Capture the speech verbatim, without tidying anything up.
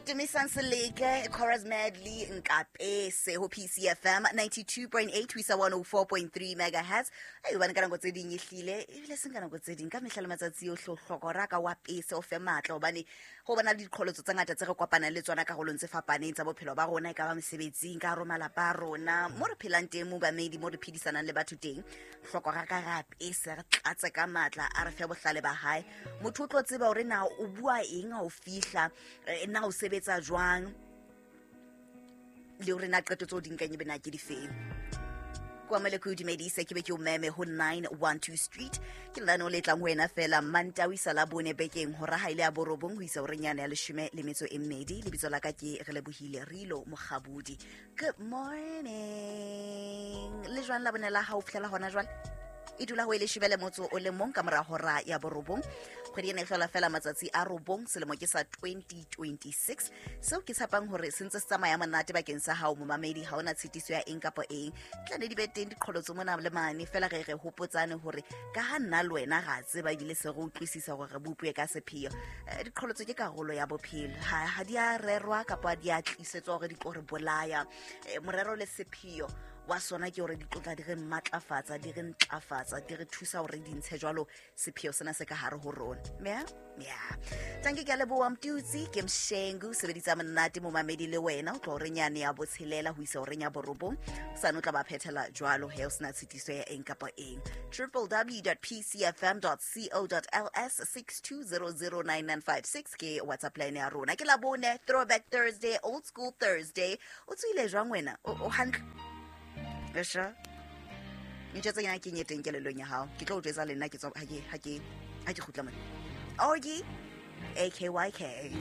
Tumisang Seleke Chorus Medley Nkapese ho P C F M ninety-two point eight ho isa one oh four point three megahertz. Ai, hobane ka nako tse ding ehlile ebile seng ka nako tse ding, ka mehla le matsatsi ohle o hloka hore a ka wa pese o fe matla, hobane ho bona le diqholotso tse ngata tse re kopanang le tsona karolong tse fapaneng tsa bophelo ba rona, e ka ba mesebetsing, ka hare ho malapa a rona, mo re phelang teng, mo bamedi mo re phedisanang le batho teng. Hloko ra ka re apese, re tlatse ka matla, a re fe bohlale ba hae. Motho o tlo tseba hore na o bua eng ha o fihla, eh, na o sebetsa jwang, le hore na qeto tseo di nkang ebe na ke difeng. Kwamele ke o dumedise, ke be ke o meme ho nine one two Street. Ke lenaneo le tlang ho wena fela Mantaha ho isa la bone bekeng, hora ha ile ya borobong ho isa horeng yane ya leshome le metso e mmedi. Lebitso la ka ke Re Lebohile Rilo Mokgabudi. Good morning. Le jwang la bone la hao fihlela hona jwale? E dula ho e leshome le motso o le mong ka mora hora ya borobong. Kgwedi ena e hlola fela matsatsi a robong, selemo ke sa twenty twenty-six. Seo ke tshepang hore se ntse se tsamaya monate bakeng sa hao, momamedi. Ha ona tshitiso ya eng kapa eng. Tla ne di be teng diqholotso mona le mane, fela re re hopotsane hore ka ha nna le wena ra tseba ebile se re utlwisisa hore re bopuwe ka sepheo. Eh, diqholotso ke karolo ya bophelo, ha ha di a rerwa kapa di a tlisetswa hore di tlo re bolaya. Eh, morero le sepheo wa sona ke hore di tlotla di re matlafatsa, di re ntlafatsa, di re thusa hore di ntshe jwalo sepheo sena se ka hare ho rona. Ya ya tanke, ke a leboha. Mtutsi ke Mshengu sebeditsa monate, momamedi. Le wena o tlo horeng yane ya botshelela ho isa horeng ya borobong, sane o tla ba phethela jwalo he, o sena tshitiso ya eng kapa eng. w w w dot p c f m dot co dot l s six two zero zero nine nine five six ke WhatsApp line ya rona. Ke Labone, Throwback Thursday, Old School Thursday. O tswile jwang wena? O o hantle? Esha ntho tse nyana ke e teng kelellong ya hao, ke tlo o jwetsa le nna ke tswa ha ke ha ke ha ke kgutla mona. Orgy A K Y K.